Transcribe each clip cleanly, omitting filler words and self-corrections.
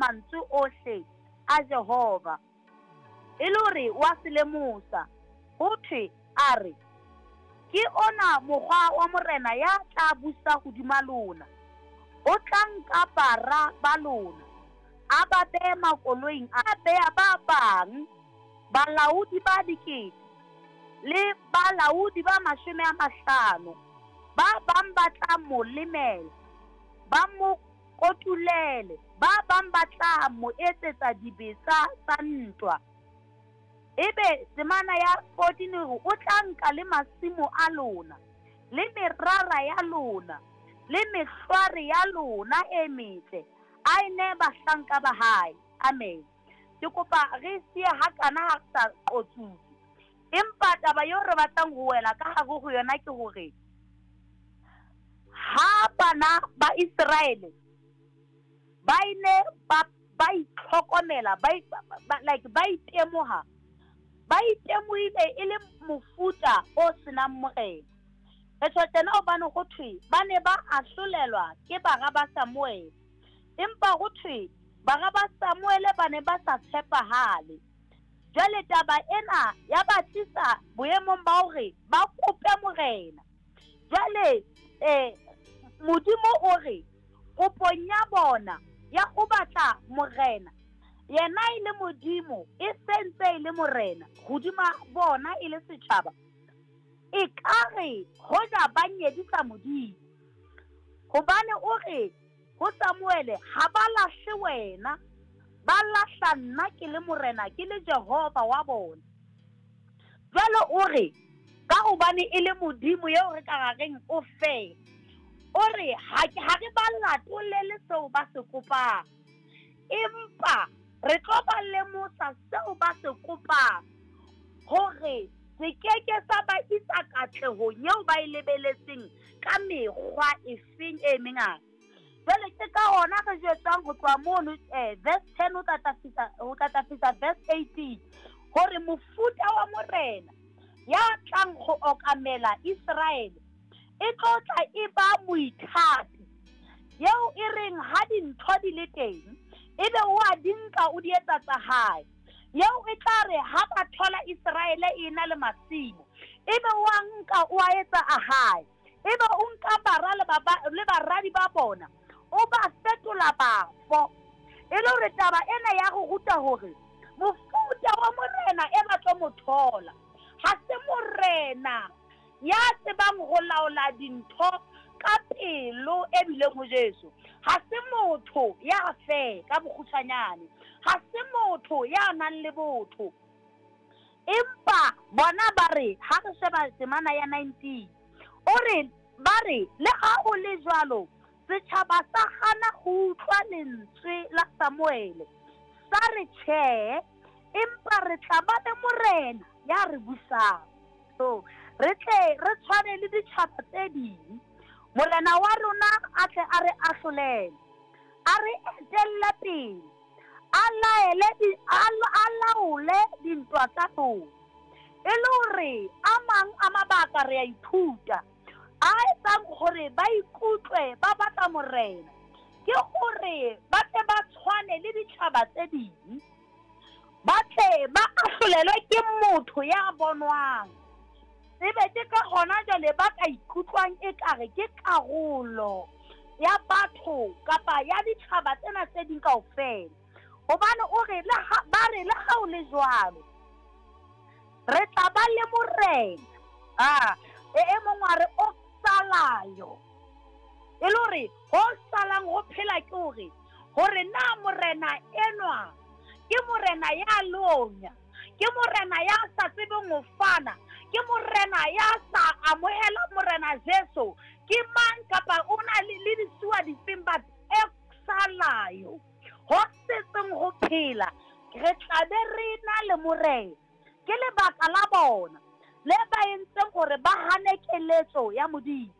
mantswe ohle a Jehova. E le hore wa se lemosa, ho thwe, a re, Ke ona mokgwa wa morena ya tla busa hodima lona, o tla nka bara ba lona, a ba bee makoloing a bea ba bang balaodi ba dikete le balaodi ba 50, ba bang ba tla mo lemela, ba mo kotulele, ba bang ba tla mo etsetsa dibetsa tsa ntwa. Ebe temana ya 14 e re, O tla nka le masimo a lona, le merara ya lona, le mehlware ya lona e metle, a e nee bahlanka ba hae. Amen. Ke kopa re siye hakana ha re sa qotsutse. Empa taba eo re batlang ho wela ka hare ho yona ke hore ha bana ba Iseraele ba ile ba itlhokomela, like ba itemoha, ba itemohile e le mofuta o senang morena. Re tjho tjena hobane ho thwe ba ne ba ahlolelwa ke bara ba Samuele, empa ho thwe bara ba Samuele ba ne ba sa tshepahale. Jwale taba ena ya ba tlisa boemong ba hore ba kope morena. Jwale Modimo o re kopong ya bona ya ho batla morena, yena e le Modimo e sentse e le morena hodima bona e le setjhaba, e ka re hoja ba nyedisa Modimo. Hobane o re ho Samuele, ha ba lahle wena, ba lahla nna ke le morena, ke le Jehova wa bona. Jwale o re ka hobane e le Modimo eo re ka reng o fe, o re ha re ba latolele seo ba se kopang, empa re tlo ba lemosa seo ba se kopang, hore se keke sa ba isa katlehong eo ba e lebeletseng ka mekgwa efeng e mengata. Jwale ke ka hona re jwetswang ho tloha mono verse 10 ho tla fihla verse 18, hore mofuta wa morena ya tlang ho okamela Iseraele e tlo tla e ba moithati, eo e reng ha dintho di le teng ebe o a di nka o di etsa tsa hae, eo e tla re ha ba thola Iseraele e na le masimo ebe o a nka o a etsa a hae, ebe o nka bara le baradi ba bona o ba fetola bafo. E le hore taba ena ya go ruta hore mofuta wa morena e ba tlo mo thola ha se morena ya tsebang ho laola dintho ka pelo e bileng ho Jesu, ha se motho ya fe ka bokgutshwanyane, ha se motho ya nang le botho. Empa bona ba re ha re sheba temana ya 19, o re ba re le ha o le jwalo setjhaba sa hana ho utlwa lentswe la Samuele, sa re tjhe, empa re tla ba le morena ya re busang, so re tle re tshwane le ditjhaba tse ding. Morena wa rona a tle a re ahlolele, a re etelle pele, a laole dintwa tsa rona. E le hore a mang a mabaka re a ithuta a etsang hore ba ikutlwe ba batla morena, ke hore ba tle ba tshwane le ditjhaba tse ding, ba tle ba ahlolelwe ke motho ya bonwang. Ebe ke ka hona jwale ba ka ikutlwang ekare ke karolo ya batho kapa ya ditjhaba tsena tse ding kaofela. Hobane o re ba re le ha o le jwalo re tla ba le morena. E mong wa re o salayo, e le hore ho salang ho phela ke hore na morena enwa ke morena ya lonya, ke morena ya sa tsebeng ho fana, ke morena ya sa amohela morena Jesu, ke mang kapa o na le disuwa difeng, but e salayo ho setseng ho phela re tla be re na le morena. Ke lebaka la bona le ba entseng hore ba hane keletso ya Modimo.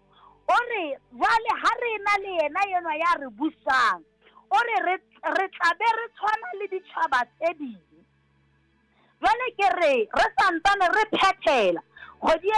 O re jwale ha re na le yena enwa ya re busang, o re re tla be re tshwana le ditjhaba tse ding. Jwale ke re re santsane re phethela kgwedi.